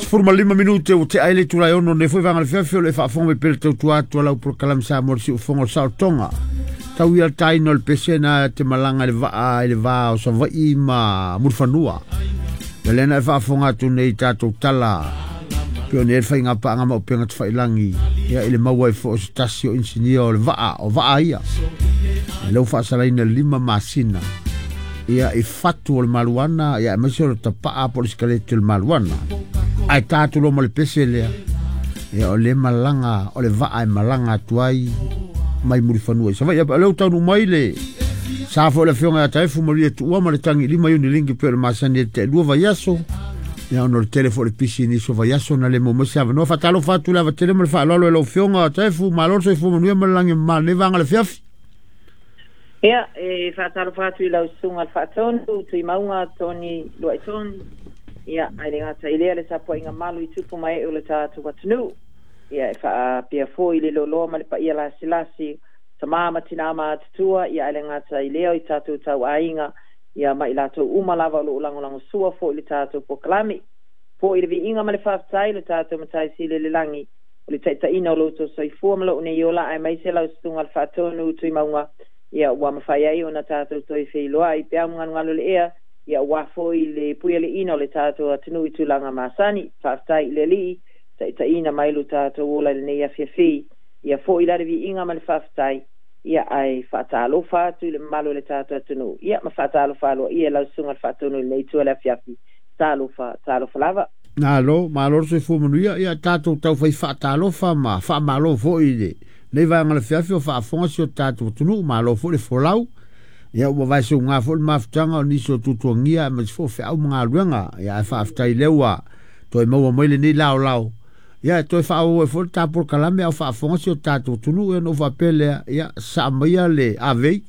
15 minute ua tea ai le itula e 6 nei foi vaega o le afiafi o lo o e faafofoga mai pea i le tautua atu a lau polokalame Samoa i le siufofoga o le saolotoga. Tau ia le taina o le pese na te malaga i le vaa i le va o Savaii ma Mulifanua. Ia lea na e faafofoga atu nei i tatou tala pei ona i ai le faigapaaga ma upega tafailagi ia i le maua ai foi o se tasi o inisinia o le vaa, o vaa ia. Ia lea ua faasalaina i le 5 masina ia i fatu o le maluana ia aemaise o le tapaa po o le sikaleti o le maluana. Ae ta atu loa ma le pese lea, ia o le malaga o le vaa e malaga atu ai mai Mulifanua i Savaii. O lea ua taunuu mai le sa foi o le Afioga ia Taefu Maria Tuua ma le tagi lima iuni lingi pei o le masani e te lua vaiaso. Ia ona o le tele foi o le pisi i nisi o vaiaso na le maua mai se avanoa. Faatalofa atu le ava tele ma le faaaloalo i lau Afioga Taefu, malo le soifua manuia ma le lagi e mama i lenei vaega o le afiafi. Ia, e faatalofa atu i lau Susuga i le Faatonu, Tuimauga Tony Luaitoni, ia, ae le gata i lea le tapuaiga malu i tupu ma ee o le tatou atunuu. Ia, e faapea foi le loaloa ma le paia lasilasi, tama ma tina matutua, ia, ae le gata i lea i tatou tauaiga, ia, ma i latou uma lava o lo o lagolagosua foi i le tatou polokalame. Foi le viiga ma le faafetai i lo tatou Matai Sili i le lagi, o le taitaiina o lo outou soifua ma lou nei ola, aemaise lau Susuga i le Faatonu Tuimauga, ia ua mafai ai ona tatou toe feiloai i peau magalugalu o le ea, ia aua foi le puialiiina o le tatou atunuu i tulaga masani. Faafetai i le Alii, taitaiina mai lo tatou ola i lenei afiafi. Ia foi la le viiga ma le faafetai, ia ae faatalofa atu i le mamalu o le tatou atunuu, ia ma faatalofa aloaia i lau Susuga i le Faatonu i lenei itu o le afiafi. Talofa, talofa lava. Malo, malo le soifua manuia. Ia tatou taufai faatalofa ma faamalo foi i lenei vaega o le afiafi o faafofoga si o tatou atunuu. Malo foi le folau. Ia ua vaeseuga foi le mafutaga o nisi o tuatuagia aemaise foi o feau ma galuega. Ia ae faafetai lea ua toe maua mai lenei laolao. Ia e toe faaauau ai foi le ta polokalame a o faafofoga si o tatou atunuu. Ia ona ou faapea lea, ia saa maia le avei,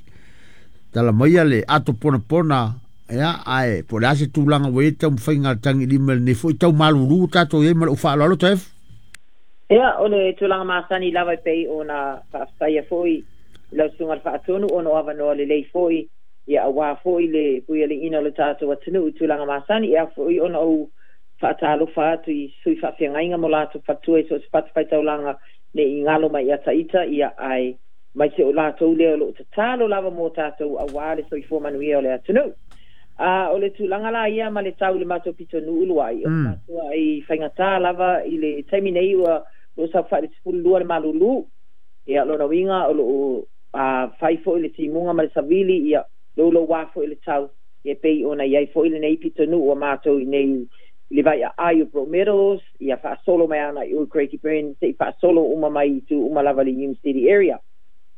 tala maia le ato ponapona. Ia, ae po o le a se tulaga ua i ai le taumafaiga a le tagilima i lenei foi tau malulu ua tatou i ai ma lou faaaloalo Taefu? Ia, o le tulaga masani lava e pei ona faafetaia foi i lau Susuga i le Faatonu ona o avanoa lelei foi, ia aua foi le puialiiina o le tatou atunuu i tulaga masani, e ao foi ona ou faatalofa atu i sui faafeagaiga ma o latou faletua i so o se fatafaitaulaga ne i galo mai ia Taita, ia ae aemaise o latou lea o lo o tatalo lava mo tatou aua le soifua manuia o le atunuu. A o le tulaga la ia ma le tau i le matou pitonuu luai, o le matuai faigata lava i le taimi nei ua lo o saofai i le 12 le malulu. Ia, o lona uiga o lo o fai foi le timuga ma le savili, ia, louloua foi le tau, e pei ona i ai foi lenei pitonuu a matou i nei i le vai aai o Broadmeadows, ia faasolo mai ana i o i Craigieburn se i faasolo uma mai i itu uma lava i le Hume City area.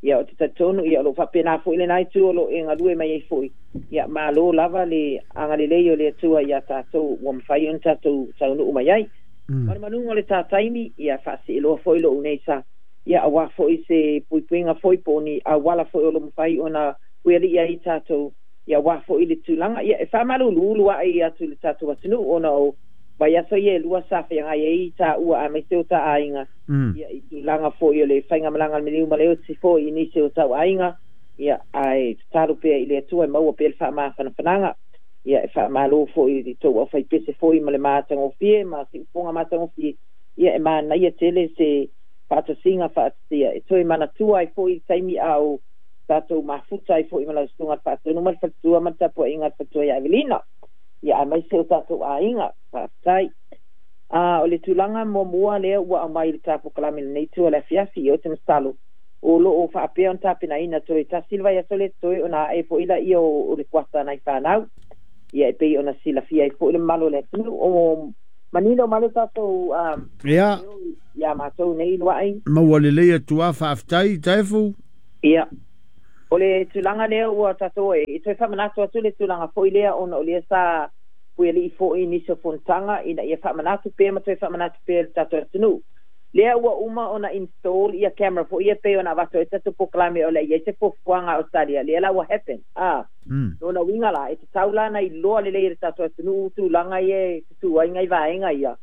Ia ou te talitonu ia o lo o faapena foi lena itu o lo o e galue mai ai foi. Ia malo lava le agalelei o le Atua iā tatou ua mafai ona tatou taunuu mai ai. Ma le manuga o le ta taimi, ia faasieloa foi lou nei sa, ia aua foi se puipuiga foi po o ni auala foi o lo o mafai ona puialii ai tatou Ia aua foi le tulaga, ia, e faamaluluulu ae atu i le tatou atunuu ona o vaiaso ia e lua sa feagai ai taua aemaise o ta aiga, ia, i tulaga foi o le faigamalaga a le maliu ma le oti foi i nisi o tau aiga, ia, ae tatalo pea i le Atua e maua pea le faamafanafanaga. Ia, e faamalo foi i le tou aufaipese foi ma le matagofie ma siufofoga matagofie, ia, e manaia tele se faatasiga faatasia e toe manatua ai foi le taimi a o tatou mafuta ai foi ma lau Susuga i le Faatonu ma le faletua ma le tapuaiga a le faletua ia Evelina, ia aemaise o tatou aiga. Faafetai. A o le tulaga muamua lea ua aumai i le ta polokalame i lenei itu o le afiafi, ia ou te masalo o lo o faapea ona tapenaina toe tasi le vaiaso lea totoe ona ae foi laia o le kuata a nai fanau. Ia e pei ona silafia ai foi le mamalu o le atunuu o manino mai le tatou Ia. ia matou nei luai. Maua lelei atu lava, faafetai Taefu. Ia, o le tulaga lea ua tatou e toe faamanatu atu le tulaga foi lea ona o lea sa puialii foi i nisi o fonotaga ina ia faamanatu pea ma toe faamanatu pea i le tatou atunuu. Lea ua uma ona install ia camera foi ia pei ona avatu ai tatou polokalame o le a i ai se fuafuaga a Australia, lea la ua happen. A, lona uiga la, e tatau la ona iloa lelei e le tatou atunuu tulaga ia e tutū ai nai vaega ia,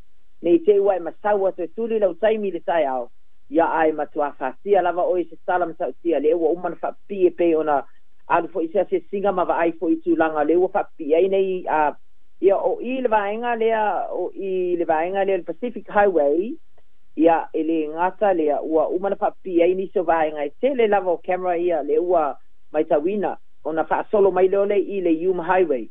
ne i te i ua e masau atu e tuli lau taimi i le taeao, Ia ae matuā fatia lava oe i se tala matautia lea ua uma ona faapipii e pei ona alu foi i se asiasiga ma vaai foi i tulaga lea ua faapipii ai nei a Ia o i le vaega lea o i le vaega lea le Pacific Highway, ia e le gata lea ua uma na faapipii ai nisi o vaega e tele lava o camera ia le ua matauina ona faasolo mai lea o le i le Hume Highway.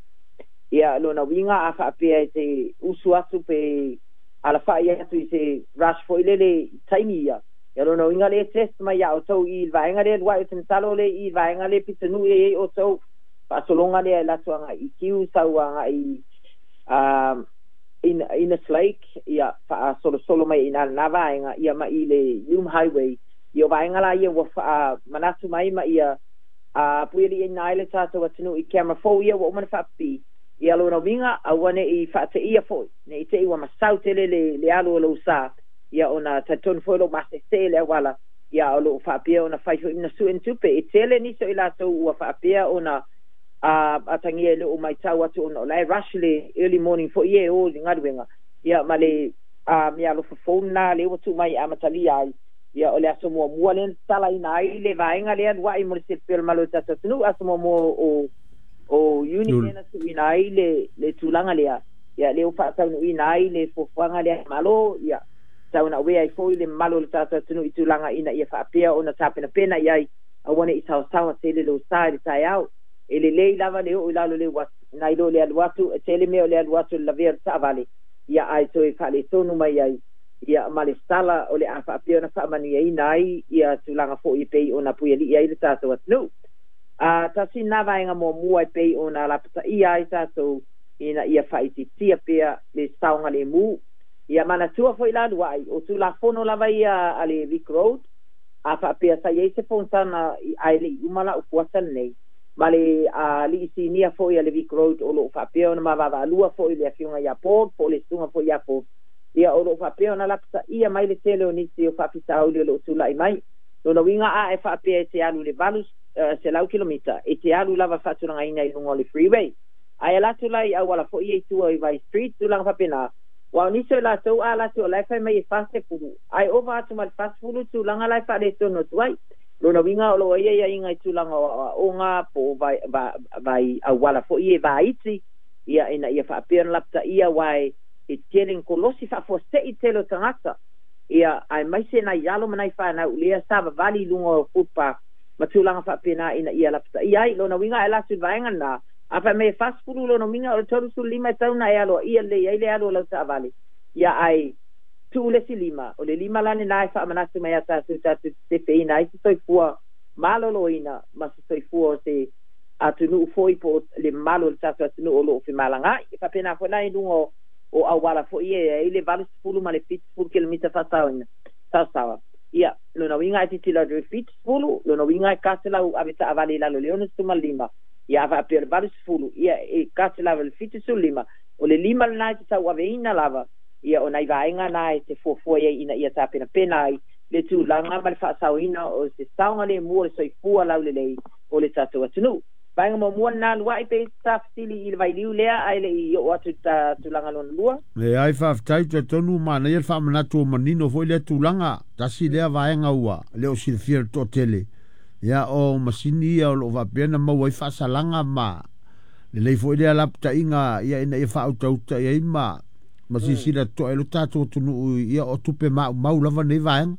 Ia lona uiga a faapea e te usu atu pe alafai atu i se rush foi lele i taimi ia. Ia lona uiga lea e test mai ia outou i le vaega lea luai o te masalo le i le vaega lea pitonuu e i ai outou faasologa lea e alu atu agai i Kiu sau agai Innes Lake, ia faasolosolo mai i ina lena vaega, ia ma i le Hume Highway. Ia o vaega la ia ua faamanatu mai ma ia puialiiina ai le tatou atunuu i camera fou ia ua uma ona faapipii. Ia lona uiga aua ne i faateia foi, ne i te i ua masau tele le alu o lou sa, ia ona talitonu foi o lou masese le auala, ia o loo faapea ona fai foi ma sue ni tupe. E tele nisi o i latou ua faapea ona atagia e le o matau atu ona o la e rush le early morning foi e o i le galuega, ia ma le meaalofa fou lena lea ua tuu mai e amatalia ai. Ia o le aso muamua lea na tatalaina ai le vaega lea luai mo le silafia o le malo o le tatou atunuu, aso muamua o Iuni lea na tuuina ai le tulaga lea, ia lea ua faataunuuina ai le fuafuaga lea a le Malo, ia tau na avea ai foi le mamalu o le tatou atunuu i tulaga ina ia faapea ona tapenapena i ai, aua ne i saosaoa tele lou sa i le taeao. E lelei lava le oo i lalo o le uafu, nai lo le alu atu, e tele mea o le alu atu i le lavea o le taavale, ia ae toe faaletonu mai ai, ia ma le sala o le a faapea ona faamanuiaina ai ia tulaga foi e pei ona puialii ai le tatou atunuu. Tasi lena vaega muamua e pei ona lapataia ai tatou ina ia faaitiitia pea le saogalemu. Ia manatua foi la luai, o Tulafono lava ia a le Vic Road, a faapea sa i ai se fonotaga ae le i uma lau kuata lenei, ma le alii sinia foi a le Vic Road o loo faapea ona mavaavaalua foi le afioga ia Paul po o le susuga foi ia Paul, ia o loo faapea ona lapataia mai le tele o nisi o faafitauli o loo tulai mai. Lona uiga a e faapea e te alu i le 800 kilomita, e te alu lava faatulagaina i luga o le freeway. Ae alu atu la i auala foi ia i tua i Vai Street, tulaga faapena, aua o nisi o i latou a alu atu o la e fai mai e 40, ae ova atu ma le 40 tulaga la e faaletonu atu ai. Lona uiga o lo o i ai aiaiga i tulaga o aoaoga po o vai auala foi ia e vaiti, ia ina ia faapea ona lapataia, aua e tele ni kolosi faafuasei tele o tagata, ia aemaise nai alo ma nai fanau lea savavali i luga o footpath ma tulaga faapena ina ia lapataia ai. Lona uiga e alu atu i le vaega lena, a fai mai e 40 lona uiga o le 35 e tau na e aloaia lelei ai le alu o lau taavale, ia ae tuu le isi lima, o le lima la lena e faamanatu mai ia tatou tatou te sefeina ai se soifua maloloina ma se soifua o se atunuu foi po o le mamalu o le tatou atunuu o loo femalagaai. E faapena foi la i luga o auala foi ia e ai le 80 ma le 70 kilomita faasaoina saosaoa. Ia lona uiga e tilotilo atu i le 70, lona uiga e 100 ave taavale i lalo o le 65, ia a faapea o le 80, ia e 100 i le 75, o le lima lena e te tauaveina lava, ia o nai vaega na e te fuafua i ai ina ia tapenapena ai le tulaga ma le faasaoina o se saogalemu o le soifua laulelei o le tatou atunuu. Vaega muamua lena luai pe i se tafesili i le vailiu lea ae le i oo atu i le tulaga lona lua. Leai, faafetai, talitonu manaia le faamanatu ua manino foi lea tulaga, tasi lea vaega ua le o silafia e le toatele, ia o masini ia o lo o faapea ona maua ai faasalaga ma lelei foi lea lapataiga ia ina ia faautauta i ai ma silasila totoa i lo tatou atunuu ia o tupe maumau lava nei vaega.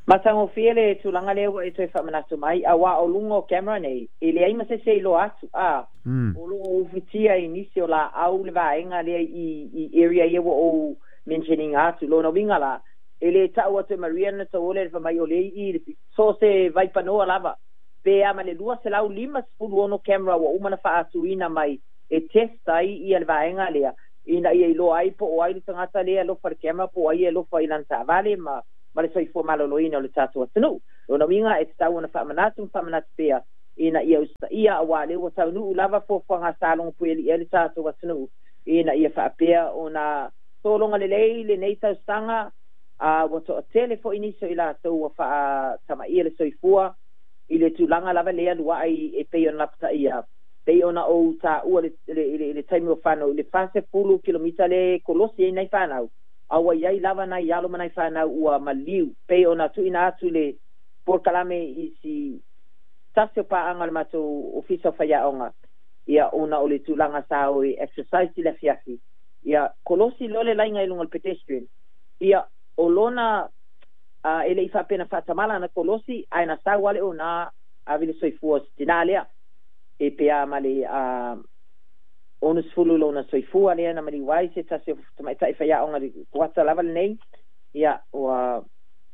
Matagofie le tulaga lea ua e toe faamanatu mai, aua o luga o camera nei, e leai ma se isi e iloa atu, a o lo o ufitia i nisi o laau le vaega lea i area ia ua ou mention ina atu. Lona uiga la, e le tau atu e Maria na tauole le fai mai o lea i i so se vaipanoa lava, pe a ma le 256 camera ua uma na faatuina mai e test ai ia le vaega lea, ina ia iloa ai po o ai le tagata lea e alofa i le camera po o ai e alofa i lana taavale ma le soifua maloloina o le tatou atunuu. Lona uiga e tatau ona faamanatu ma faamanatu pea ina ia usitaia, aua lea ua taunuu lava fuafuaga a sa logopuialii ai le tatou atunuu ina ia faapea ona sologa lelei lenei tausaga. Ua toatele foi nisi o i latou ua faatamaia le soifua i le tulaga lava lea luai e pei ona lapataia, pei ona ou taua le taimi o fanau i le 40 kilomita le kolosi ai nai fanau, a ua i ai lava nai alo ma nai fanau ua maliu, pei ona tuuina atu le polokalame i si tasi o paaga o le matou ofisa o faiaoga. Ia ona o le tulaga sa o e exercise i le afiafi. Ia kolosi loa le laiga i luga o le pedestrian. Ia o lona e le i faapena faatamala ana kolosi ae na sau lava le ona ave le soifua o si tinā lea e pe a ma le 60 lona soifua lea na maliu ai se tasi o tamaitai faiaoga i le kuata lava lenei. Ia ua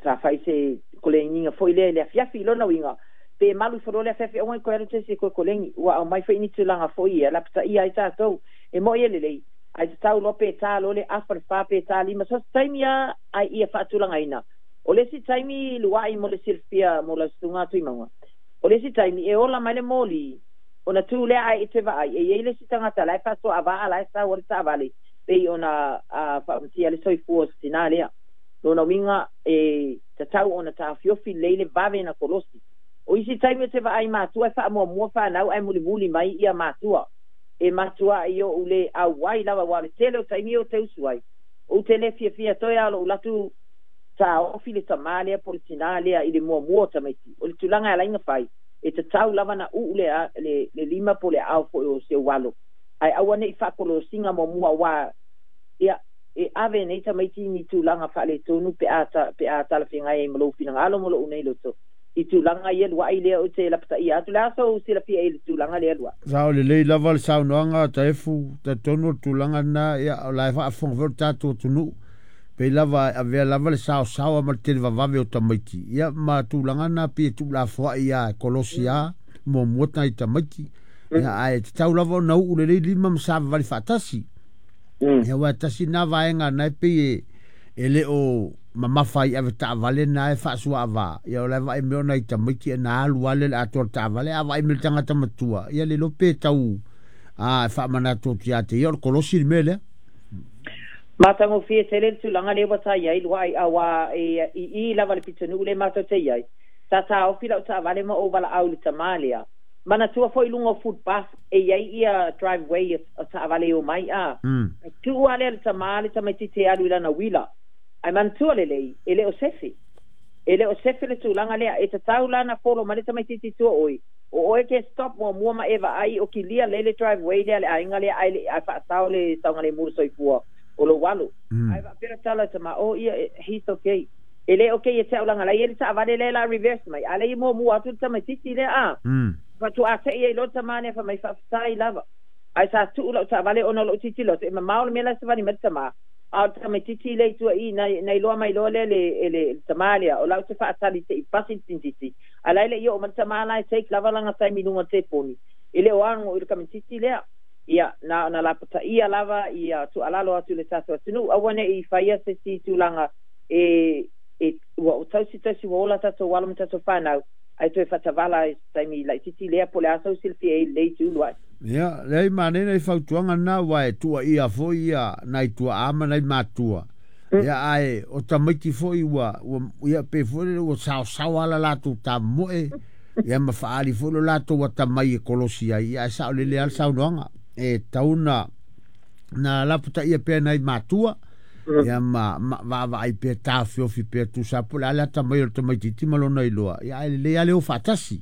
sa fai se koleniga foi lea i le afiafi. I lona uiga, pe malu ifo loa le afiafi aua ne i toe alu se isi e toe koleni. Ua aumai foi ni tulaga foi ia lapataia ai tatou. E mo'i e lelei, ae tatau loa pe ta loa le afa le fa pe ta lima, so o se taimi lava ae ia faatulagaina. O le isi taimi lua'i mo le silafia mo lau susuga Tuimauga, o le isi taimi e ola mai le moli ona tu lea ae e te vaai e i ai le isi tagata la e faasoaavaa la e sau ai le taavale pei ona faamatia le soifua o se tinā lea. Lona uiga e tatau ona taofiofi lelei le vave na kolosi. O isi taimi ou te vaai matua e faamuamua fanau ae mulimuli mai ia matua. E matua'i ou le auai lava aua o le tele o taimi ou te usu ai, ou te le fiafia toe a o lo'u latu taofi le tamā lea po o le tinā lea i le muamua o tamaiti. O le tulaga e ala ai ona fai, e tatau lava ona uu le, le, le lima po o le aao foi o si ou alo, ae aua ne i faakolosiga muamua aua ia e ave nei tamaiti i ni tulaga faaletonu pe a pe a talafeagai ai ma lou finagalo ma lou nei loto i tulaga ia lua'i lea ou te lapataia atu. O le a sou silafia i le tulaga lea lua'i? Sao lelei lava le saunoaga a Taefu, talitonu o le tulaga lena, ia, o la e faafofoga foi le tatou atunuu, pei lava e avea lava le saosaoa ma le televavave o tamaiti, ia, ma tulaga na pei e tuulafoai lava e kolosi lava muamua nai tamaiti, ia, ae tatau lava ona uu lelei lima ma savavali faatasi. Ia, aua e tasi lena vaega na e pei e le o mamafa ai ave taavale na e faasuaava, ia o la e vaai mai o nai tamaiti e na alu lava lea i le atoa o le taavale, a vaai mai le tagata matua, ia le iloa pe tau e faamanatu atu ia te ia o le kolosi le mea lea. Matagofie tele le tulaga lea ua ta i ai lua'i, auā e i i lava le pitonuu lea matou te i ai, sa taofi lau taavale ma ou valaau i le tamā lea. Manatua foi i luga o footpath e i ai ia driveway o taavale e omai a. Tuu lava lea le tamā le tamaitiiti e alu i lana uila. Ae manatua lelei, e le o sefe. E le o sefe le tulaga lea. E tatau la ona folo mai le tamaitiiti i tua o oe. O oe ke stop muamua ma e vaai o kilia lelei le driveway lea a le aiga lea ae le ae faasao le saogalemu o le soifua o lou alo. Ae faapea le tala i le tama, oh ia, he's okay. E le okay ia te au leaga la e i ai le taavale lea la reverse mai, a lea i muamua atu le tamaitiiti lea a. Faatoa tei ai loa le tama lea fai mai faafetai lava. Ae sa tuu lau taavale ona o lou tilotilo atu e mamao le mea la e savali mai le tama, a o le tamaitiiti lea i tua i na, na iloa mai loa lea le, e le, le tama lea o lau te faatali se i pasi le tintiti, a la e le i oo mai le tama la e take lava lana taimi i luga o le telefoni. E le o ago i le tamaitiiti lea. Ia, na ona lapataia lava ia tuualalo atu i le tatou atunuu, aua ne i faia se isi tulaga e, e, ua tausi tausi ua ola tatou alo ma tatou fanau, ae toe faatavala i se taimi laitiiti lea po o le a sou silafia i lenei itu lua'i. Ia, leai, manaia nai fautuaga na, aua e tuuaia foi ia nai tuaa ma nai matua. Ia, ae o tamaiti foi ua, ua, ia, pei foi lele ua saosaoa la latou tamomoe, ia ma faaali foi lo latou atamai e kolosi ai, ia, ae saolele lava le saunoaga. E tatau ona na lapataia pea nai matua, ia ma, ma vaavaai pea taofiofi pea tusa po o le a le atamai o le tamaitiiti ma lona iloa, ia ae lelei lava le o faatasi.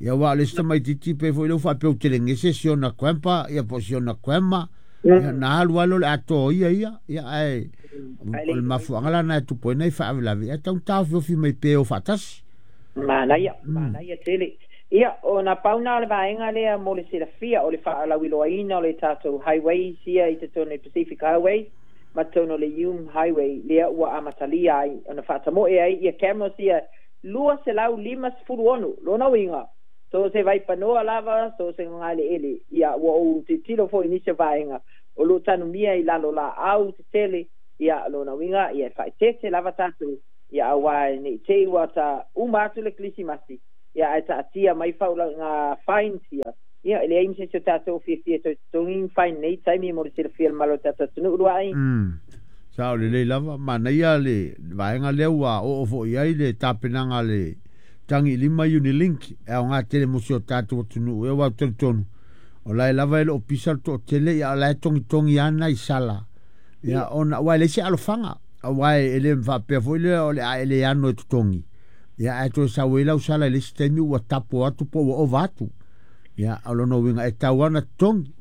Ia aua o le isi tamaitiiti pei foi lea ua faapea ua telegese si ona grandpa ia po o si ona grandma, ia na alu lava lea o le atoa o ia ia, ia ae o le mafuaaga la lena e tupu ai nai faalavelave, ia e tatau ona taofiofi mai pea e o faatasi. Manaia, manaia tele. Ia, ona pau na o le vaega lea mo le silafia o le faalauiloaina o le tatou highways ia i totonu o le Pacific Highway ma totonu o le Hume Highway lea ua amatalia ai ona faatamoe ai ia cameras ia 256. Lona uiga, so o se vaipanoa lava, so o se gagaeleele, ia ua ou tilotilo foi i nisi o vaega o lo o tanumia i lalo laau tetele, ia lona uiga, ia e faaeteete lava tatou, ia aua ne i te i ua ta uma atu le Kerisimasi, ia ae taatia mai faulauga fines ia, ia e leai ma se isi o tatou o fiafia e toe totogi ni fine nei taimi mo le silafia e le malo o le tatou atunuu lua'i. Sao lelei lava, manaia le vaega lea ua oo foi i ai le tapenaga a le Tagi i Lima Unilink e aoga tele mo si o tatou atunuu. Aua ou te talitonu, o la e lava e le o pisa le toatele, ia o la e togitogi lava nai sala. Ia ona, aua e leai se alofaga, aua e le faapea foi lea o le a e le ano e totogi, ia ae toe sau ai lau sala i le isi taimi ua tapo atu po ua ova atu. Ia o lona uiga e tatau lava ona totogi.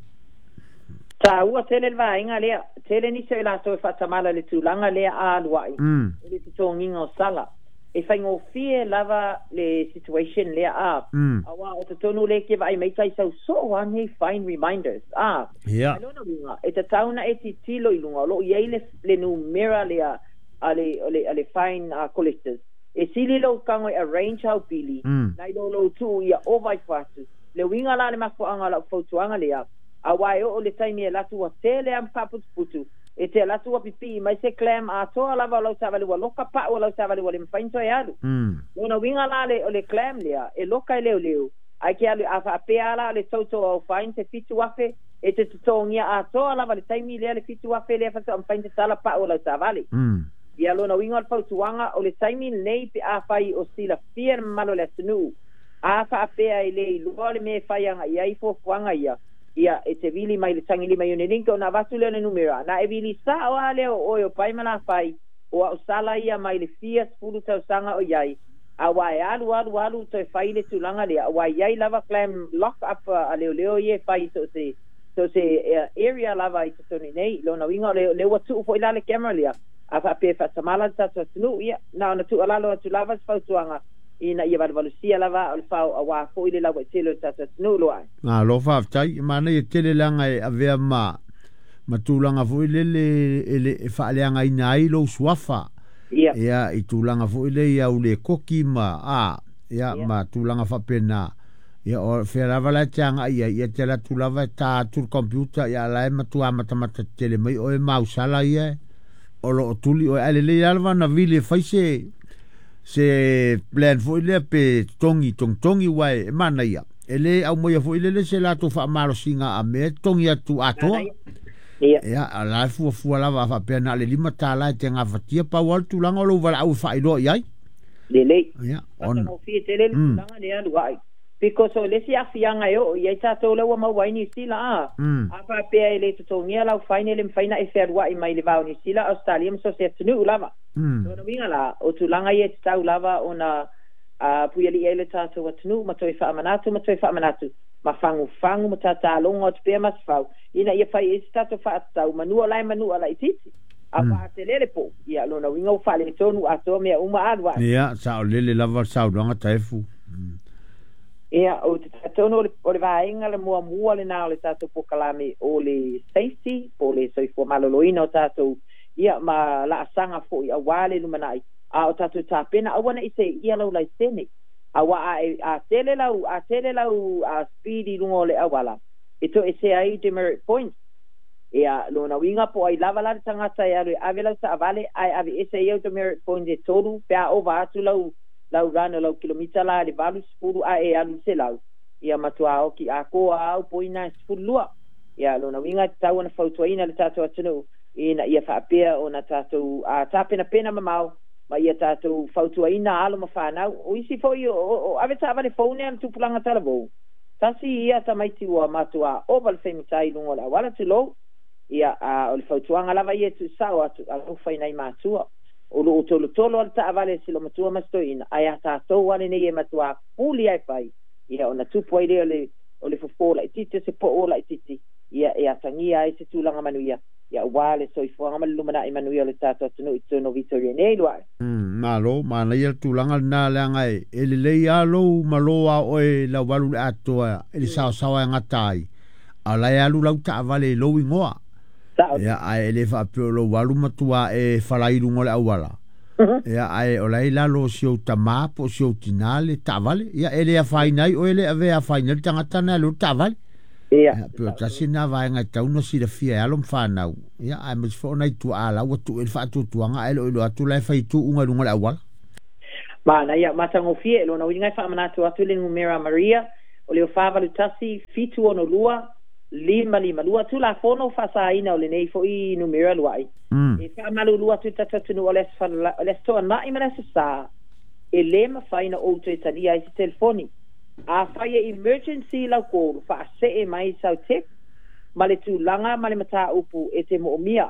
Taua tele le vaega lea. Tele nisi o i latou e faatamala i le tulaga lea a alu ai i le totogiga o sala. E faigofie lava le situation lea a, aua o totonu lea e te vaai mai tai sau soo lava nei fine reminders a. Ai lona uiga, e tatau ona e tilotilo i luga o lo o i ai le numera lea a le fine collectors. E sili lou tago e arrange au pili, nai lo lou tuu ia ova ifo atu. Le uiga la le mafuaaga o lau fautuaga lea, aua e oo i le taimi e alu atu ua tele lava ma faaputuputu, e te alu atu ua pipii mai se clam atoa lava o lau taavale ua loka pau o lau taavale ua le mafai ona toe alu. Lona uiga la o le clam lea, e loka e leoleo, ae te alu, a faapea lava la o le total o au fines e $7,000, e te totogia atoa lava le taimi lea le $7,000 lea faatoa mafai ona tatala pau o lau taavale. Ia lona uiga o le fautuaga, o le taimi lenei pe afai o silafia le mamalu o le atunuu, a faapea e le iloa le mea e fai agai ai fuafuaga ia, ia e te vili mai le tagilima i Unilink ona avatu lea o le numera, na e vili sao lava lea o oe o pai ma lafai, o au sala ia mai le fia 10 tausaga o i ai, aua e alu alu alu toe fai le tulaga lea, aua e i ai lava clam lock up a leoleo ia e fai i so o se area lava i totonu i nei. Lona uiga o lea ua tuu foi la le camera lea, a faapea e faatamala le tatou atunuu, ia na ona tuualalo atu lava se fautuaga ina ia valuvalusia lava aa o le fao auā foi le lauaitele o le tatou atunuu loa ai. Malo faafetai, e manaia tele leaga e avea ma tulaga foi lele e faaleagaina ai lou suafa. Ia i tulaga foi lea i au lekoki ma a ia ma tulaga faapena. Ia o fea lava la e te agai i ai, ia te alu atu lava e ta atu le computer, ia la e matua matamata tetele mai oe ma au sala ia o lo o tuli oe. Ae lelei lava ona vili e fai se plan foi lea pe totogi togitogi aua e manaia. E le aumaia foi lele se latou faamalosiga a mea e totogi atu atoa. Ia, o la e fuafua lava a faapea na o le $5 e te gafatia, pau lava le tulaga o lou valaau e faailoa i ai. Lelei. Ia, ona. Matagofie tele le tulaga lea alu ai. Because o le isi aafiaga e oo i ai tatou lea ua maua ai Niu Sila a. A faapea e le totogia lau fine e le mafai ona e fealuai mai le va o Niu Sila, Ausetalia ma so o se atunuu lava. Lona uiga la, o tulaga ia e tatau lava ona puialii ai le tatou atunuu ma toe faamanatu ma toe faamanatu ma fagufagu ma tatalogo atu pea Masefau ina ia fai ai se tatou faatatau manua la e manua laitiiti. Aua a tele le pou, ia lona uiga ua faaletonu atoa mea uma alu ai. Ia, saolele lava le saunoaga Taefu. Ia, ou te talitonu o le vaega le muamua lena o le tatou polokalame o le safety, po o le soifua maloloina o tatou, ia, ma laasaga foi aua le lumanai, a o tatou tapena, aua ne i seia lau laisene. Aua a tele lau, a tele lau speed i luga o le auala, e toesea ai demerit points. Ia, lona uiga po o ai lava la le tagata e alu e ave lau taavale ae aveese ai au demerit points e 3 pe a ova atu lau lau run o lau kilomita la i le 80 ae e alu i le 100, ia matua oki atoa au poina e 12. Ia, lona uiga e tatau ona fautuaina le tatou atunuu ina ia faapea ona tatou tapenapena mamao ma ia tatou fautuaina alo ma fanau. O isi foi o ave taavale fou nei a le tupulaga talavou, tasi ia tamaiti ua matua ova le faigata i luga o le auala, tulou. Ia, a o le fautuaga lava ia e tuusao atu, alofa i nai matua. O lo o tolotolo lava le taavale a si olomatua ma si toeaina, ae a tatou lava lenei e matua puli lava e fai, ia ona tupu ai lea o le fofo laitiiti o se poo laitiiti, ia e atagia ai se tulaga manuia, ia aua le soifuaga ma le lumanai manuia o le tatou atunuu i totonu o Vitoria nei, Luai. Malo, manaia le tulaga lena leaga e lelei lava lou malo a oe lau alu i le atoa i le saosaoa e gata ai, a o la e alu lau taavale i lou igoa. Ia, ae e le faapea o lou alu matua e falai i luga o le auala. Ia, ae o la e i lalo o si ou tamā po o si ou tinā le taavale. Ia, e le afaina ai oe le avea afaina ai le tagata na e alu ai le taavale. Ia, pei o tasi lena vaega e tatau ona silafia e alo ma fanau. Ia, aemaise foi o nai tuaa la ua tuu i ai le faatuatuaga ae le o iloa atu la e fai tuuga i luga o le auala. Manaia, matagofie, lona uiga e faamanatu atu le numera Maria, o le 481 762 552, Tulafono faasaina o lenei foi numera lua'i. E faamalulu atu i le tatou atunuu o le Aso Toonai ma le Aso Sa, e lē mafai ona ou toe talia ai se telefoni. Afai e emergency lau call, faasee mai sau text ma le tulaga ma le mataupu e te moomia.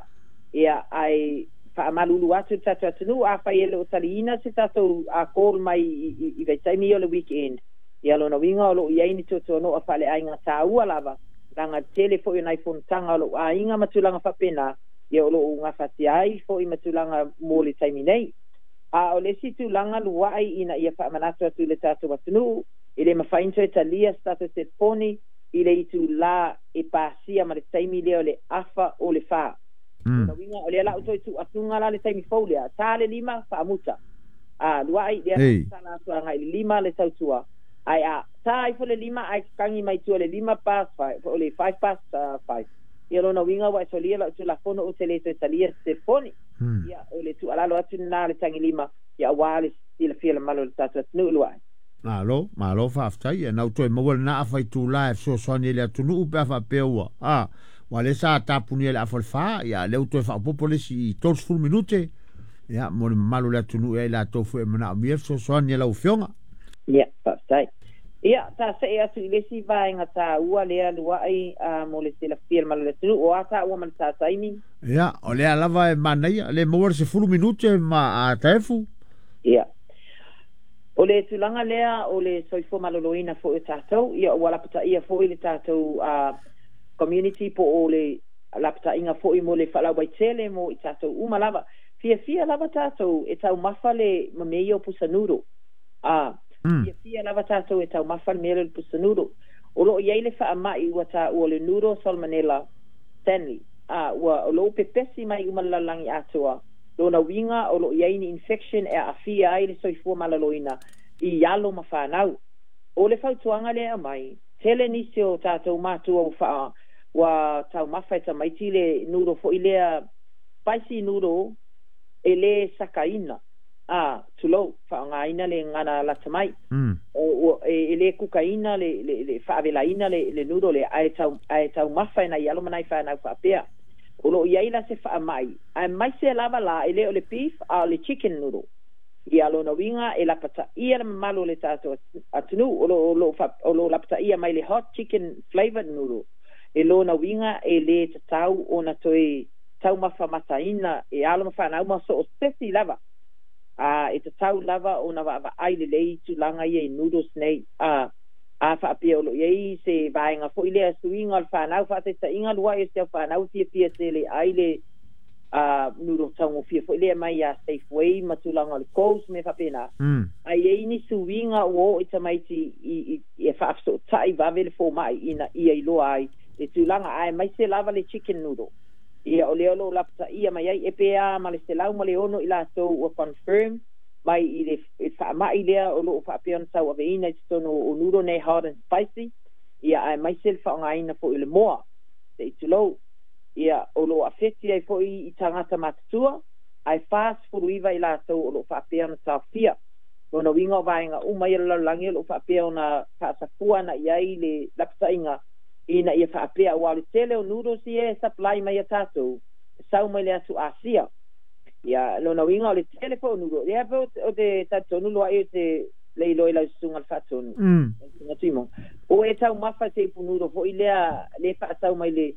Ia, ae faamalulu atu i le tatou atunuu, afai e le o taliina se tatou call mai i vaitaimi ia o le weekend, Ia lona uiga o loo iai ni tuatuano'a faaleaiga tāua lava laga tele fo'i o nai fonotaga o lo'u aiga ma tulaga faapena ia o lo'u gafatia ai fo'i ma tulaga mo le taimi nei. A o le isi tulaga lua'i ina ia faamanatu atu i le tatou atunuu e le mafai ona toe talia se tatou telefoni i le itulā e pasia ma le taimi lea o le 3:30. Lona uiga o lea la ua toe tuuatuga la le taimi fou lea, ta le 5 faamuta. A lua'i lea la tatala atu agai i le 5 le tautua. Ae a ta ifo le 5 ae tatagi mai tua le 5 past 5, o le 5:05. Ia lona uiga ua e solia lau tulafono ou te le toe talia se telefoni. Ia o le tuualalo atu lena le tagilima ia auā le silafia le mamalu o le tatou atunuu lua'i. Malo, malo faafetai. E nau toe maua lena afa itulā e fesoasoani i le atunuu pe a faapea ua a ua lea sa tapunia i le 3:30 ia lea ua toe faaopoopo le isi i 30 minute ia mo le mamalu o le atunuu ia i latou foi e manaomia le fesoasoani a lau afioga. Ia, faafetai. Ia, tasee atu i le isi vaega tāua lea lua'i mo le silafia le mamalu o le atunuu o a tāua ma le taimi. Ia, o lea lava e manaia, le maua le 10 minute ma a taefu. Ia. O le tulaga lea o le soifua maloloina fo'i o tatou, ia ua lapataia fo'i le tatou community po o le lapataiga fo'i mo le faalauaitele mo i tatou uma lava. Fiafia lava tatou e taumafa le ma mea ia o pusa noodle. Fiafia lava tatou e taumafa le mea lea o le pusa noodle. O loo iai le faama'i ua taua o le noodle salmonella Stanley. Ua o loo pepesi mai uma le lalolagi atoa. Lona uiga o loo iai ni infection e aafia ai le soifua maloloina i alo ma fanau. O le fautuaga lea e aumai, tele nisi o tatou matua ua faa ua taumafa e tamaiti le noodle foi lea spicy noodle e lē sakaina a tulou faaaogaina le gagana lata mai. O e lē kukaina le faavelaina le noodle lea ae taumafa e nai alo ma nai fanau faapea. O loo iai la se faama'i ae maise lava la e lē o le beef a o le chicken noodle. Ia lona uiga e lapataia le mamalu o le tatou atunuu o loo lapataia mai le hot chicken flavored noodle. E lona uiga e lē tatau ona toe taumafamataina e alo ma fanau ma so o sesi lava. A e tatau lava ona vaavaai lelei tulaga ia i noodles nei. A faapea o loo iai se vaega fo'i lea suiga o le fanau faataitaiga lua'i o se au fanau fiafia tele ai le noodle taugofie fo'i lea mai ia Safeway ma tulaga o le Coles me faapena. Ae iai ni suiga ua oo i tamaiti i e faafesootai vave le foma'i ina ia iloa ai le tulaga ae maise lava le chicken noodle. Ia o lea o loo lapataia mai ai e pe a ma le 106 i latou ua confirm mai i le faama'i lea o loo faapea ona tauaveina i totonu o noodle nei hot and spicy. Ia ae maise le faaaogaina fo'i o le moa se i tulou. Ia o loo afeti ai fo'i i tagata matutua ae 49 i latou o loo faapea ona taofia. Lona uiga o vaega uma ia o le lalolagi o loo faapea ona faasafua ana i ai le lapataiga ina ia faapea auā o le tele o noodles ia e supply mai ia tatou sau mai le atu Asia. Ia lona uiga o le tele fo'i o noodle ia pe o te talitonu lua'i o te le iloa i lau susuga le faatonu. Susuga Tuimoga. O e taumafa se ipu noodle fo'i lea le faatau mai le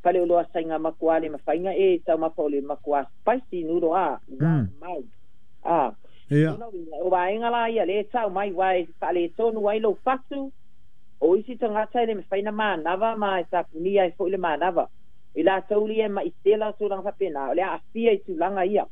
fale oloa saiga makuā le mafaiga e taumafa o le makuā spicy noodle a mau. Ia. O vaega la ia le tau mai uā e faaletonu ai lou fatu o isi tagata e le mafai na manava ma e tapunia ai fo'i le manava. I latou lia e ma'i tela tulaga faapena o le aafia i tulaga ia.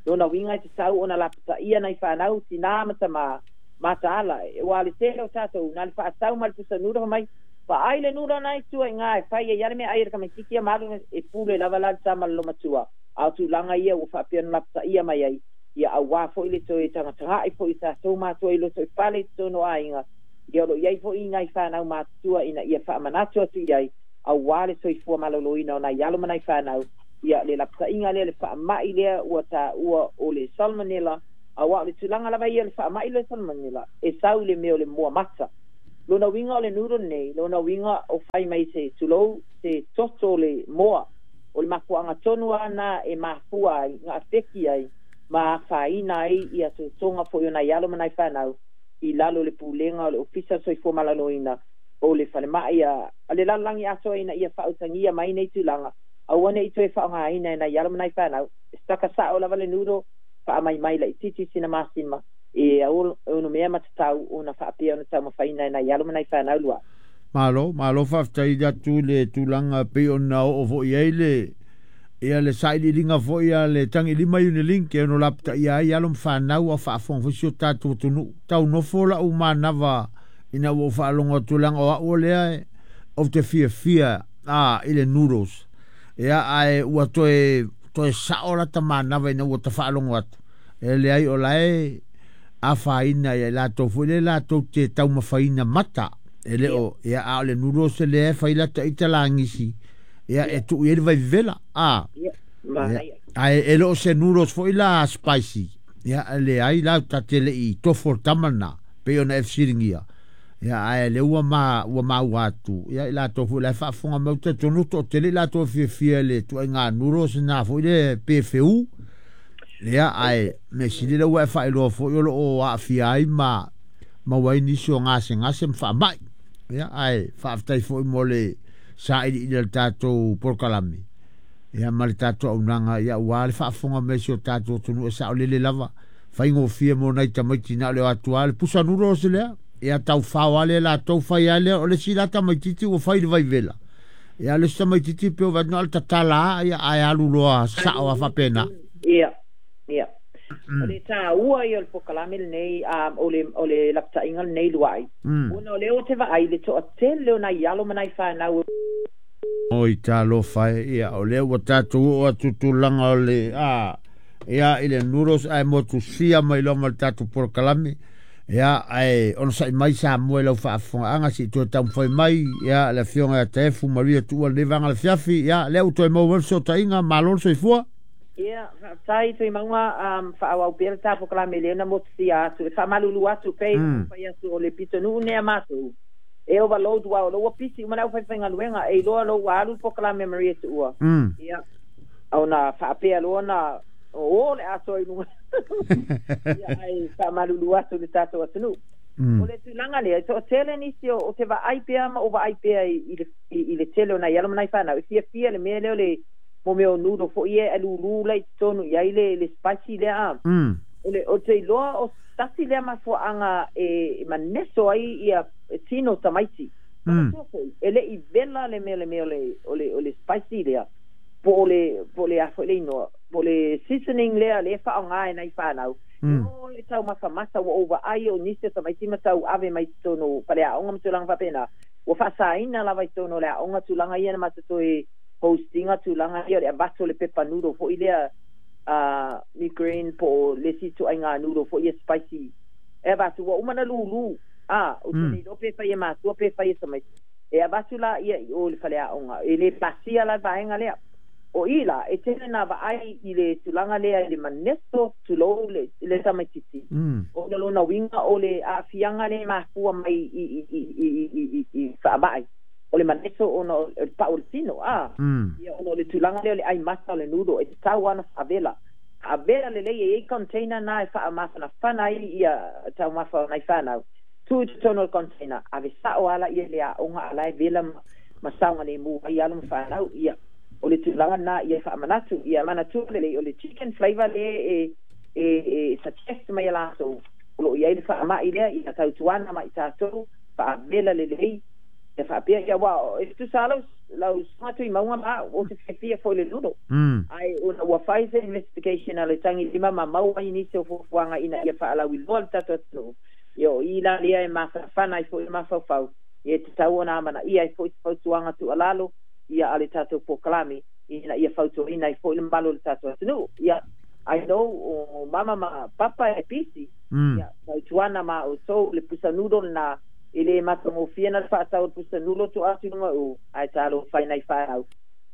Lona uiga e tatau ona lapataia nai fanau tinā ma tamā mataala uā le tele o tatou na le faatau ma le pusa noodle mai faai le noodle na i tua i gā e fai ai ale mea ai e le tamaititi ia ma alu e pule lava la le tama le lomatua. A o tulaga ia ua faapea ona lapataia mai ai ia auā fo'i le toe tagataga'i fo'i tatou matua i loto i fale i totonu o aiga. Ia o loo iai fo'i nai fanau matutua ina ia faamanatu atu i ai auā le soifua maloloina o nai alo ma nai fanau. Ia le lapataiga lea le faama'i lea ua taua o le salmonella auā o le tulaga lava ia le faama'i le salmonella e sau i le mea o le moa mata. Lona uiga o le noodle nei, lona uiga o fai mai se tulou se toto o le moa o le mafuaaga tonu ana e mafua ai gaafeki ai ma afaina ai ia totoga fo'i o nai alo ma nai fanau i lalo le pulega o le Ofisa Soifua Maloloina o le falema'i a le lalolagi atoa ina ia faautagia mai nei tulaga aua nei toe faaaogaina e nai alo ma nai fanau. E saka sao lava le noodle faamaimai laititi sina masima. E ono mea matatau ona faapea ona taumafaina e nai alo ma nai fanau lua. Malo, malo faafetai atu le tulaga pei ona oo foi ai le ia le sailiiliga foi a le Tagilima Unilink e ono lapataia ai alo ma fanau a faafofoga foi si o tatou atunuu. Tau nofo lau manava ina ua ou faalogo atu leaga o au o lea ou te fiafia i le noodles. Ia ae ua toe toe sao lata manava ina ua tafaalogo atu. E leai o lae afaina ia i latou foi le latou te taumafaina mata. E le o ia a o le noodles lea e fai lata ita lagisi. Ia e tuu i ai le vaivevela. Ae e le o se noodles foi la spicy. Ia e leai la ta te le i tofo le tama lena. Pei ona e fesiligia. Ia ae le ua ma ua maua atu. Ia i latou foi la e faafofoga mai ou talitonu toatele i latou e fiafia i le ituaiga noodles na foi le PFU. Ia ae mea sili lea ua e faailoa foi o lo o aafia ai ma maua ai nisi o gasegase ma faamai. Ia ae faafetai foi mo le sailiili a le tatou polokalame. Ia ma le tatou auaunaga ia aua le faafofoga mai si o tatou atunuu e saolele lava. Faigofie mo nai tamaiti na o le o atu lava le pusa noodles lea. Ia taufao lava lea latou fai lava lea o le isi la tamaitiiti ua fai i le vaivela. Ia le isi tamaitiiti pei ua vaai atu na o le tatala lava ia ae alu loa sao lava faapena. Ia, ia. O le taua ia o le polokalame lenei, o le lapataiga lenei luai. Ona o lea ou te vaai i le toatele o nai alo ma nai fanau. Oi talofa e, ia o lea ua tatou oo atu tulaga o le ia i le noodles ae motusia mai loa ma le tatou polokalame. Ia ae onosai mai Samoa i lau faafofogaaga se i toe taumafai mai ia le afioga ia Taefu Maria Tuua lenei vaega o le afiafi. Ia lea ua toe maua mai le fesootaiga, malo le soifua. Ia, faafetai Tuimauga, faaauau pea le ta polokalame lea na motusia atu. E faamalulu atu pei ona fai atu o le pitonuu nei a matou e overload aua o lea ua pisi uma le aufaifaigaluega e iloa loa ua alu le polokalame a Maria Tuua. Ia, ona faapea loa na o le atoa i luga. Ia, ae faamalulu atu i le tatou atunuu. O le tulaga lea, e toatele nisi o te vaai pea ma ou vaai pea i le tele o nai alo ma nai fanau e fiafia le mea lea o le mo mea o noodle foi ia e lulu la i totonu i ai le spicy lea a. O le o te iloa o tasi lea mafuaaga e maneso ai ia tino tamaiti. Manatua foi, e le i vela le mea o le spicy lea, po o le a foi le inoa, po o le seasoning lea lea e faaaoga e nai fanau. E o le taumafamasa ua ou vaai o nisi o tamaiti ma tau ave mai totonu o faleaoga ma tulaga faapena. Ua faasaina lava i totonu o le aoga tulaga ia na matou toe hostinga tulaga ia o le avatu o le pepa noodle foi lea mi green po o le isi ituaiga noodle foi ia spicy e avatu ua uma ona lulu ou te le iloa pe fai e matua pe fai e tamaiti e avatu la ia i o i le faleaoga e le pasia la le vaega lea. O i la e tele na vaai i le tulaga lea i le maneso tulou le tamaitiiti ona lona uiga o le aafiaga lea e mafua mai i faamai o le maneso ona o le pau o le tino a ia ona o le tulaga lea o le ai mata o le noodle e tatau lava ona faavela faavela lelei e i ai container na e faamafanafana ai ia taumafa o nai fanau tuu i totonu o le container ave sao lava laia i le aoga a la e vela ma saogalemu ai alo ma fanau. Ia o le tulaga lena ia faamanatu ia manatua lelei o le chicken flavour lea e suggest mai e latou o lo o i ai le faamai lea ia tautuana ma i tatou faavela lelei ia faapea ia aua e tutusa lava lau susuga Tuimauga ma au ou te fiafia foi i le noodle ae ona ua fai se investigation a le Tagilima ma maua ai nisi o fuafuaga ina ia faalauiloa le tatou atunuu ia o i la lea e mafanafana ai foi le mafaufau ia e tatau ona amanaia ai foi se fautuaga tuualalo ia a le tatou polokalame ina ia fautuaina ai foi le mamalu o le tatou atunuu. Ia I know o mama ma papa e pisi ia tautuana ma outou le pusa noodle lena e le matagofie na le faatau o le pusa noodle tua atu i luga o ae talofa i nai fanau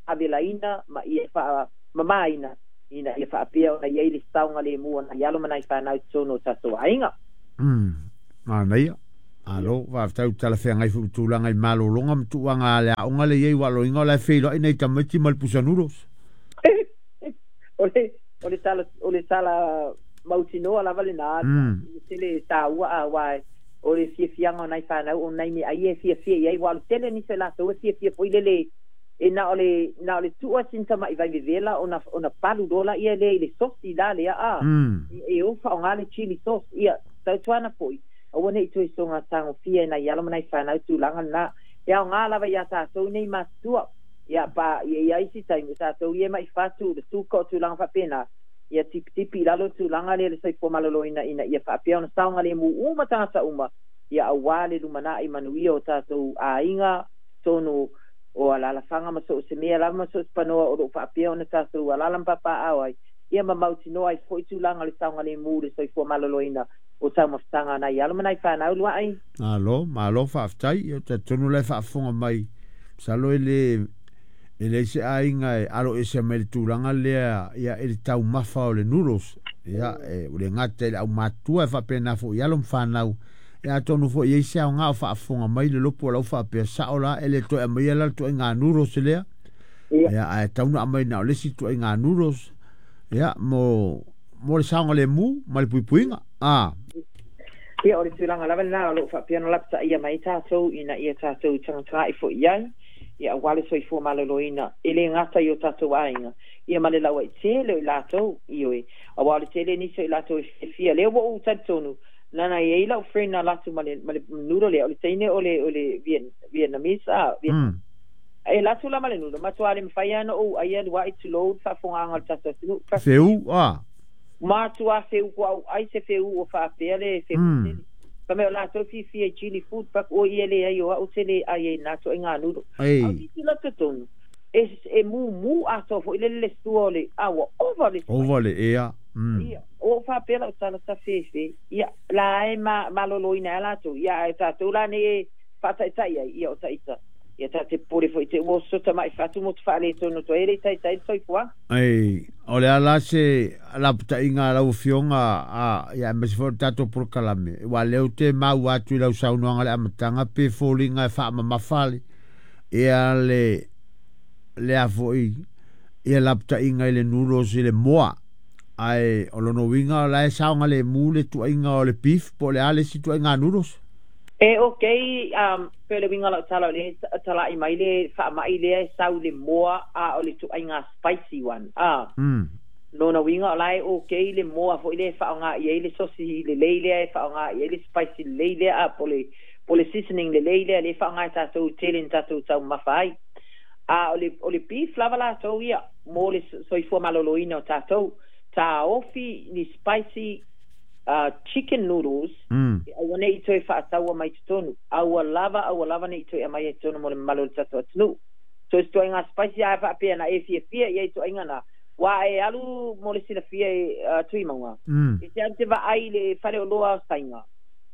faavelaina ma ia faamamaina ina ia faapea ona i ai le saogalemu o nai alo ma nai fanau i totonu o tatou aiga. Manaia. Malo, faafetai ua talafeagai foi ma tulaga i malologa ma tuuaga a le aoga lea e i ai aua o lona uiga o la e feiloai nai tamaiti ma le pusa noodles. O le tala o le tala mautinoa lava lena e tele e taua aua o le fiafiaga o nai fanau o nai meaai ia e fiafia i ai aua o le tele nisi o latou e fiafia foi lele e na o le na o le tuu sina tama'i vaivevela ona palu loa laia lea i le sosi la lea e o faaaoga le chili sauce ia. Tautuana fo'i aua ne'i toe soga tagofia e nai alo ma nai fanau tulaga lenā e aogā lava iā tatou nei matutua ia pa ia ia isi taimi tatou ia ma'i fatu le suka o tulaga faapenā ia tipitipi i lalo tulaga lea le soifua maloloina ina ia faapea ona saogalemu uma tagata uma ia auā le lumana'i manuia o tatou aiga tonu o alalafaga ma so o se mea lava ma so o se panoa o loo faapea ona tatou alala ma papaaao ai ia ma mautinoa ai fo'i tulaga o le saogalemu le soifua maloloina o taumafataga nai alo ma nai fanau lua'i. Malo, malo faafetai. Ia talitonu la e faafofoga mai masalo e le e leai se aiga e alo ese mai le tulaga lea ia i le taumafa o le noodles. Ia e ua le gata i le aumatutua e faapena foi i alo ma fanau. Ia atonu foi e i ai se aoga o faafofoga mai le lopo o lau faapea sao la e le toe aumaia la le ituaiga noodles lea. Ia ae tatau ona aumai na o le isi ituaiga noodles ia mo mo le saogalemu ma le puipuiga. A. Ia o le tulaga lava lenā o loo faapea ona lapataia mai tatou ina ia tatou tagatagai foi i ai ia auā le soifua maloloina e lē gata i o tatou aiga ia ma le lauaitele o i latou ioe auā o le tele nisi o i latou e fiafia lea ua ou talitonu lana e iai lau friend na alu atu ma le ma le noodle lea o le teine o le o le Vietnamese a e alu atu la ma le noodle matua le mafai lava ona ou aia lua'i tulou le faafofogaaga o le tatou atunuu. Feu a. Matua feu ua ou ai se feu ua faapea le feu tele. Fa mai o latou fiafia i chili food but oi ia leai o au te le ai ai na ituaiga noodle. Au tilotilo totonu e e mumu atoa foi le le sua o le a ua ova le Ova le ea. Ia, ua ou faapea lau tala tafefe, ia, la e ma maloloina ai latou, ia ae tatou la nei e faataitai ai, ia o taita. Ia ta te popole foi te ua sota mai fatu motu faaletonu atu ai e le i taitai le soifuaga. Ai, o le a la se lapataiga a lau Afioga a, ia aemaise foi o le tatou polokalame, aua o lea ou te maua atu i lau saunoaga i le amataga pe foliga e faamamafa le, ia le, le a foi, ia lapataiga i le noodles i le moa. Ae o lona uiga o la e saogalemu le tuaiga o le beef po o le a le isi tuaiga noodles? E okay, pei o le uiga o lau tala o lea e tala'i mai le faama'i lea e sau i le moa a o le tuaiga spicy one a. Lona uiga o la e okay le moa foi lea e faaaoga i ai le sosi lelei lea e faaaoga i ai le spicy lelei lea a po o le po o le seasoning lelei lea lea e faaaoga e tatou tele ina tatou taumamafa ai. A o le o le beef lava latou ia mo le soifua maloloina o tatou. Taofi ni spicy chicken noodles e aua ne i toe faataua mai totonu. Aua lava aua lava ne i toe aumaia i totonu mo le mamalu o le tatou atunuu. So se ituaiga spicy a faapea na e fiafia i ai ituaiga na, ua e alu mo le silafia e Tuimauga, e te alu te vaai i le faleoloa o Saina,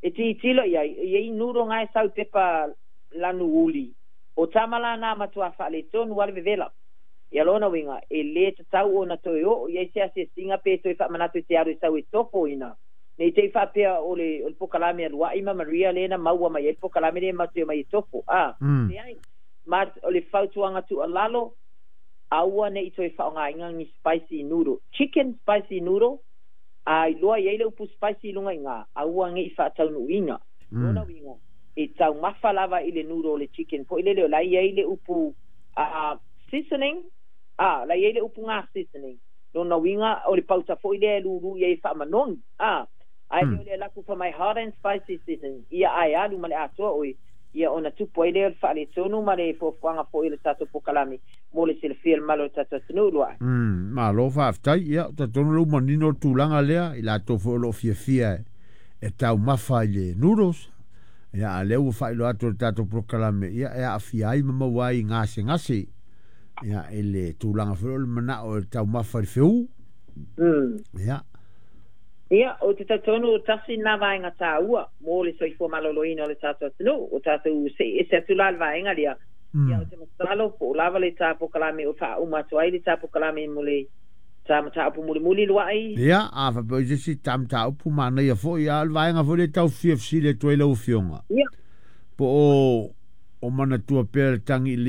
e tilotilo i ai, e i ai noodle na e sau i pepa lanu uli. O tama la na matua faaletonu lava le vevela. Ia lona uiga, e lē tatau ona toe oo i ai se asiasiga pe toe faamanatu i te alu e sau e tofoina. Ne i te i faapea o le o le pokalame a Lua'i ma Maria lea na maua mai ai le pokalame lea matou te omai e tofo. A, leai. Ma o le fautuaga tuualalo, aua ne i toe faaaogaina ni spicy noodle, chicken spicy noodle, a iloa i ai le upu spicy i luga i ina, aua ne i faataunuuina. Lona uiga, e taumafa lava i le noodle o le chicken foi lele o la e i ai le upu seasoning, a, la e i ai le upu ga seasoning. Lona uiga, o le pauta foi lea e lūlū i ai e faamanogi, a, ae le o le alu atu fai mai hot and spicy seasoning, ia ae alu ma le atoa oe, ia ona tupu ai lea o le faaletonu ma le fuafuaga foi o le tatou pokalame mo le silafia e le mamalu o le tatou atunuu lua'i. Malo faafetai. Ia, ou te talitonu o lea ua manino le tulaga lea, i latou foi o lo o fiafia e taumafa i le noodles, ia a o lea ua faailoa atu e le tatou polokalame, ia e aafia ai ma maua ai i gasegase, ia i le tulaga foi o le manao e taumafa i le feu. Ia. Ia, ou te talitonu tasi lena vaega taua mo le soifua maloloina o le tatou atunuu, o tatou se'i ese atu la i le vaega lea. Ia, ou te masalo po o lava le ta pokalame o faauma atu ai le ta pokalame mo le ta mataupu mulimuli lua'i. Ia, a faapea o i se isi ta mataupu manaia foi, a o le vaega foi lea e tau fia fesili atu ai lau Afioga. Ia. Po o manatua pea le tagi i lima.